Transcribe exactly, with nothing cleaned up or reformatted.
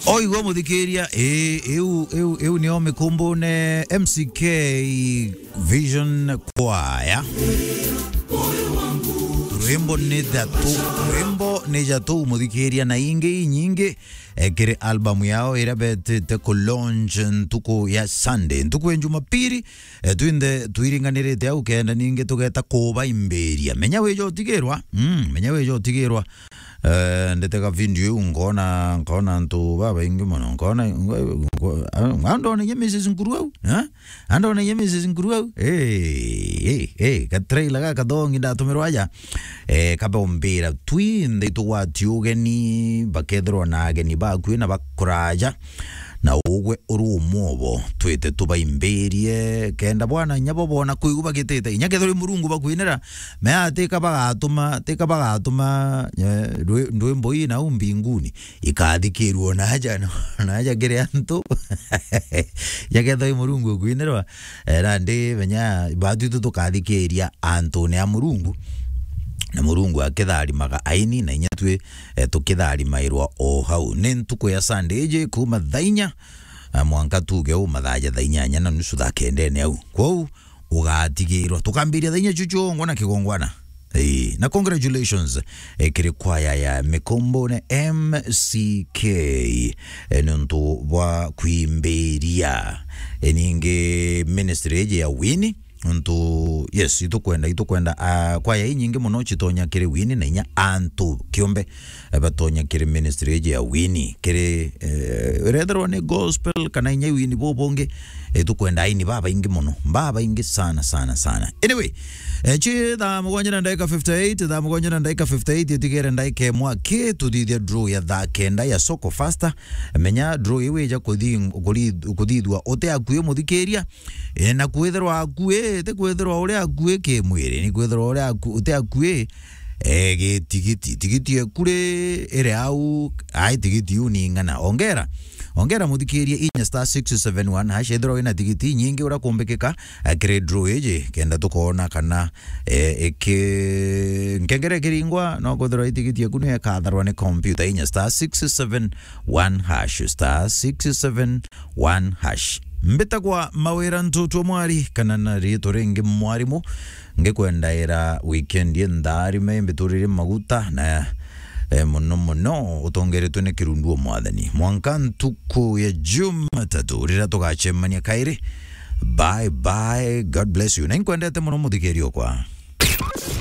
Oigwa muthikiria, ii, iu, iu, iu nio Mikumbune M C K Vision Choir. Rwimbo ni jatu, rwimbo ni jatu muthikiria, na ingi inyingi, eh, kiri album yao iria betite ku launch ntuku ya Sunday, ntuku ya Jumapili. Eh, twinthe twiringanirite au kenda ningi tugeta kubaimbiria. Menya wija utigirwa, mm, menya wija utigirwa. Eh, ndetega video iu nkona, nkona antu babaingi mono, nkona, nko-, nko-, a-, andoneye Missus Nkuru au, eh? Andoneye Missus Nkuru au. Eh, eh, eh, gatrailer gaka kathongi ndatumirwa aja. Eh, kabombira twinthe itugwati ugeni, bakethirwa na ageni bakui na bakuraja. Na ugwe uri umwe obo, twite tubaimbirie, kenda bwana inya bo bona kuigua bagitite, inya kethirwa i Murungu bakwinira, mea tika bagatuma, tika bagatuma, eh, rwi-, ndwimbo ii nau mbinguni, ikathikirua naja, naja kiri antu. Inya kethirwa i Murungu ukwinirwa, eh, nandi menya batwi tu tukathikiria antune a Murungu, na Murungu akitharimaga aini, na inya twi eh, tukitharimairwa o hau. Ni ntuku ya Sunday iji kuma thaa inya, eh, mwanka tuge u mathaa ja thaa inyanya na nusu thaa kendene au. Kwou, ugatigirwa. Tukambiria thaa inya chuchu ngwa na kigongwana. Ii, na congratulations, eh, kiri kwaya ya Mikombone M C K, eh, nontu bwa kwimbiria. Eh, ningi ministry iji ya Winnie, Nontu, yes, itukwenda, itukwenda, ah, kwaya inyingi mono citonya kiri Winnie, na inya antu kiumbe, eh, batonya kiri ministry iji ya Winnie, kiri, eh, irethirwa ni gospel kana inya Winnie bubungi, itukwenda aini babaingi mono, babaingi sana, sana, sana. Anyway, eh, chi thaa mugwanja na ndagika fifty-eight, thaa mugwanja na ndagika fifty-eight, itigere ndagika imwe aki, tuthithia draw ya thaa kenda ya Soko Faster. Menya draw iu ija kuthi-, kuri-, kuthithua uti akui muthikiria, E, na kwithirwa akui, ti kwithirwa uri akui kimwiri, ni kwithirwa uri aku-, uti akui, e, gitigiti. Tigiti eku ri, iri au, ai, tigiti iu ni ing'ana. Ongera, ongera muthikirie inya star six seven one hash, ethirwa wina tigiti inyingi uria kumbikika, e, kiri draw iji, kenda tukoona kana, e, iki-, nkengere ikiringwa, no kwithirwa i tigiti eku ni ekatharwa ni computer, inya star six seven one hash, star six seven one hash. Mbitagwa Mawira Ntutu Mwari, kana na riitwa ringi Mwarimu. Ngikwendaira weekend intharime, mbiturire maguta na, eh, mono mono utongeretwe ni kirundu o Mwathani. Mwanka ntuku ya Jumatatu riria tugacemania kairi. Bye bye, God bless you. Na inkwendete mono muthikiria okwa.